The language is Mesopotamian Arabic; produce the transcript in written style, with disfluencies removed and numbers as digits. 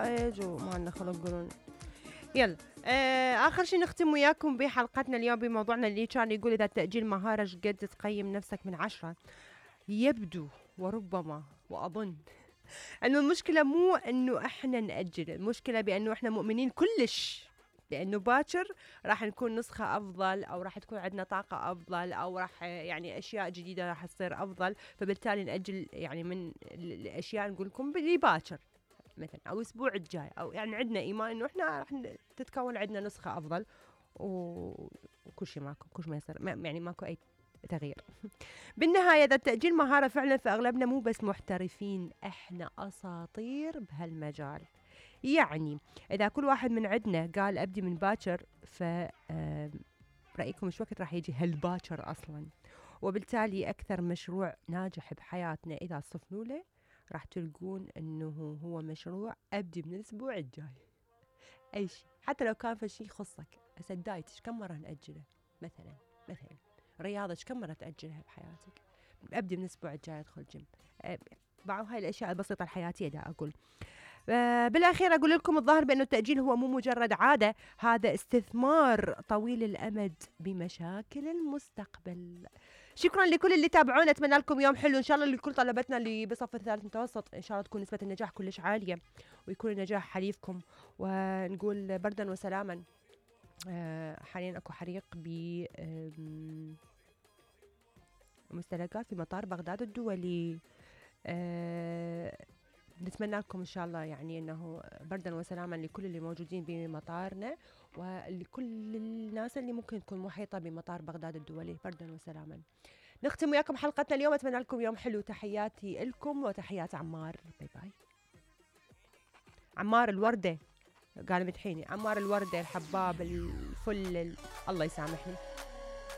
نتائج وما عندنا خلق قولون. يلا آخر شي نختم وياكم بحلقتنا اليوم بموضوعنا اللي كان يقول إذا التأجيل مهارة قد تقيم نفسك من 10. يبدو وربما وأظن أنه المشكلة مو أنه إحنا نأجل، المشكلة بأنه إحنا مؤمنين كلش بأنه باكر راح نكون نسخة أفضل، أو راح تكون عندنا طاقة أفضل، أو راح يعني أشياء جديدة راح تصير أفضل، فبالتالي نأجل يعني من الأشياء نقول لكم باللي باكر مثلا أو الأسبوع الجاي، أو يعني عندنا إيمان إنه إحنا راح تتكون عندنا نسخة أفضل وكل شيء ماكو، كل شيء ما يصير يعني ماكو أي تغيير. بالنهاية إذا التأجيل مهارة فعلا، فأغلبنا مو بس محترفين، إحنا أساطير بهالمجال. يعني إذا كل واحد من عندنا قال أبدي من باكر، رأيكم مش وقت راح يجي هالباكر أصلا؟ وبالتالي أكثر مشروع ناجح بحياتنا إذا صفنوا له راح تلقون أنه هو مشروع أبدي من الأسبوع الجاي. أي شيء حتى لو كان في شيء يخصك، هسه الدايت كم مرة نأجله مثلا رياضة كم مرة تأجلها بحياتك؟ أبدي من الأسبوع الجاي أدخل جيم. بعض هاي الأشياء البسيطة الحياتية دا أقول. بالأخير أقول لكم الظاهر بأنه التأجيل هو مو مجرد عادة، هذا استثمار طويل الأمد بمشاكل المستقبل. شكرا لكل اللي تابعونا، أتمنى لكم يوم حلو إن شاء الله. لكل طلبتنا اللي بصف الثالث متوسط إن شاء الله تكون نسبة النجاح كلش عالية، ويكون النجاح حليفكم. ونقول بردا وسلاما. حاليا أكو حريق بمستلقات في مطار بغداد الدولي. نتمنى لكم إن شاء الله يعني أنه بردا وسلاما لكل اللي موجودين بمطارنا، ولكل الناس اللي ممكن تكون محيطة بمطار بغداد الدولي. بردا وسلاما. نختم وياكم حلقتنا اليوم، أتمنى لكم يوم حلو. تحياتي لكم وتحيات عمار. باي باي. عمار الوردة قال مدحيني، عمار الوردة الحباب الفل الله يسامحني.